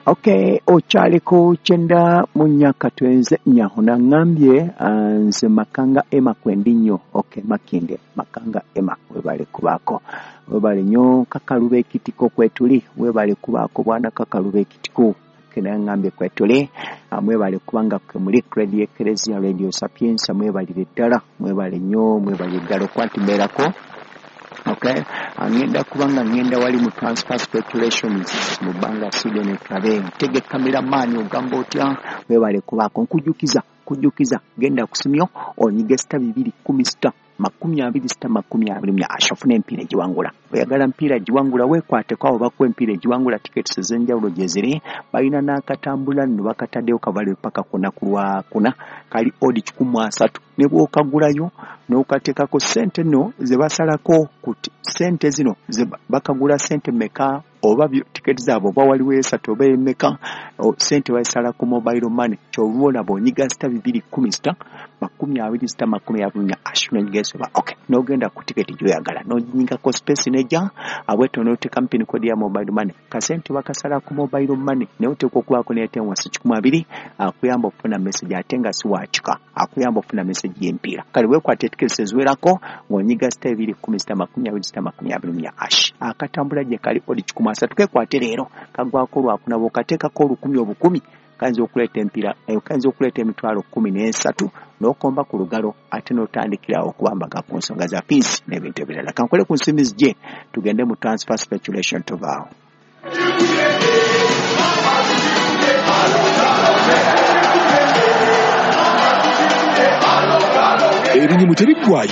Okay, okyaliko 94 katwenze nyahuna ngambye nze Makanga Emma kwendi nnyo. Okay, Makinde Makanga Emma, webale kubaako, webale nnyo. Kakalube ekitiko kwetuli, webale kubaako bwana Kakalube ekitiko kenangambye kwetuli. Mwebale kubanga kwe muli Radio Ecclesia, Radio Sapienza, mwebalire ddala, mwebale nnyo, mwebale ddala okuba nti mbeerako. Okay, ngenda kubanga ngenda wali mu transfer speculations mu bbanga Sweden tulabe ntege cameraman ogamba otya, webale kubaako. Nkujjukiza kujjukiza genda kusimyo onyige *210 *20 *24 asha ofune empiira egiwangula. Oyagala mpiira giwangula, weekwateko abo bakuwa empiira egiwangula. Tickets ez'enjawulo gye ziri, balina n'akatambula nno bakataddeyo kavale paka kuna ku lwakuna, kali odi 130 ne bw'okagulayo n'okateekako ssente nno ze basalako ku ssente zino ze bakagula ssente mmeka oba tiketi zaabwe oba waliwo esatu oba emeka, ssente bazisala ku mobile money. Ky'oba olaba onyiga *210 *20 *24 ash n'onyiga esoba. Okay, n'ogenda ku tiketi gy'oyagala n'onyigako space nejja abwetyo n'oteekamu pin code ya mobile money. Kasente bakasala ku mobile money, naye oteekwa okubaako n'airtime wansi 120 akuyamba okufuna message, ate nga si wakika akuyamba okufuna message y'empiira. Kale weekwate tiketi eziwerako ng'onyiga *210 *20 *24 ash. Akatambula gye kali odi 130, kekwate leero kagwako lwakuna. Bw'okateekako olukumi obukumi kayinza okuleeta empiira, kayinza okuleeta emitwalo 13 n'okomba ku lugalo ate n'otandikirawo okubambaga ku nsonga za peace n'ebintu ebirala. Kankole ku nsimbi zijje tugende mu transfer speculation tuvaawo. Ebinyumu tebiggwayo.